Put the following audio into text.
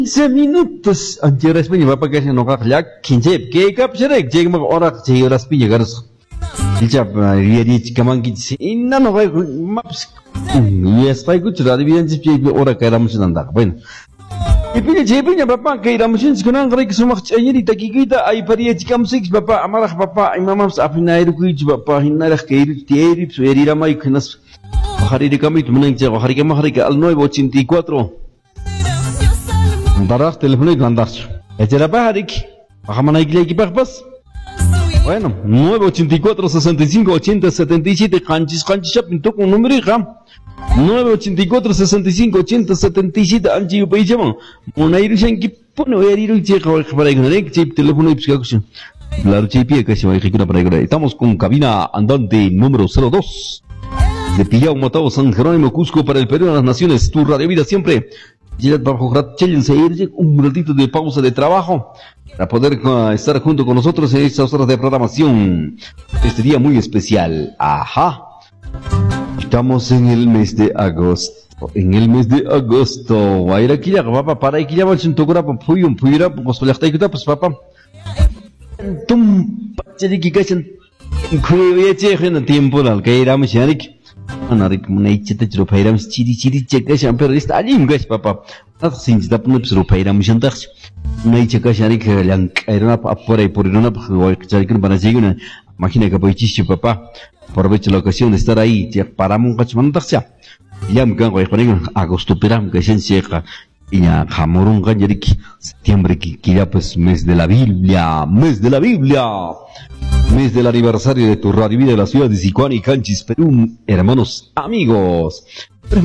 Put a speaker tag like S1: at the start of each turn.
S1: 15 minutos ancheraspiña papa kashan noqaqa llakin chaypi kaykapusharayku chaykumaqa horaqa chay horaspiña karusqa icha yuyarichikamankichis hina noqayku imapas yuyasqaykuchu radio vidanchis chaypi hora kayramushanantaqa. Bueno, chaypiña chaypiña papa kayramushanchis kunanqa riki sumaq ch'añiri takikuyta aypariyachikamusaykichis papa amaraq papa imamanpas apinayrukuychu papa hinaraq kayruchu tiyayripas uyariramayku hinaspa qajaririkamuyta munanki chayqa qajarikamaq riki al 984 Daraq teléfono andaqchu. Echarapaj riki. Qajamanaykillaykipaqpas. Bueno, 984 65 80 77 qanchis qanchischapin tukun numeriqa. 984 65 80 77 ancha yupaychaman munayrushankipuni uyariruychayqa wayqiparaykuna riki chaypi telefonoypis kakushan. Claro, chaypi kashan wayqikuna paraykuna. Estamos con cabina andante número 02 de Pillao, Motao, San Jerónimo, Cusco para el Perú de las Naciones. Tu radio vida siempre. Un ratito de pausa de trabajo para poder estar junto con nosotros en estas horas de programación. Este día muy especial. Ajá. Estamos en el mes de agosto. En el mes de agosto. Wayrakillaqa papa paraykillaman tukurapun phuyun phuyurapun Qusqu llaqtaykutapas papa. Tum pachariki kashan khuyayachiyaq hina tiemporal kayramushan riki. Mana riki munaychatachu ruphayramush chiri chiricha kashan pero esta allin kashan papa. Nataq sinchitapunapis ruphayramushantaqchu. Munaycha kashan riki llank'ayrunapaq apuray purirunapaq wayqicharikuna panachaykuna. Imagina kapuychischu papá. Aprovecho la ocasión de estar ahí. Paramunqachu manataqcha. Llam kanqa wayqipanaykuna agosto piram kashan chayqa. Iña hamurunqa riki septiembre killapas mes de la Biblia, mes de la Biblia, mes del aniversario de tu radio vida de la ciudad de Sicuani, Canchis, Perú, hermanos, amigos. Pero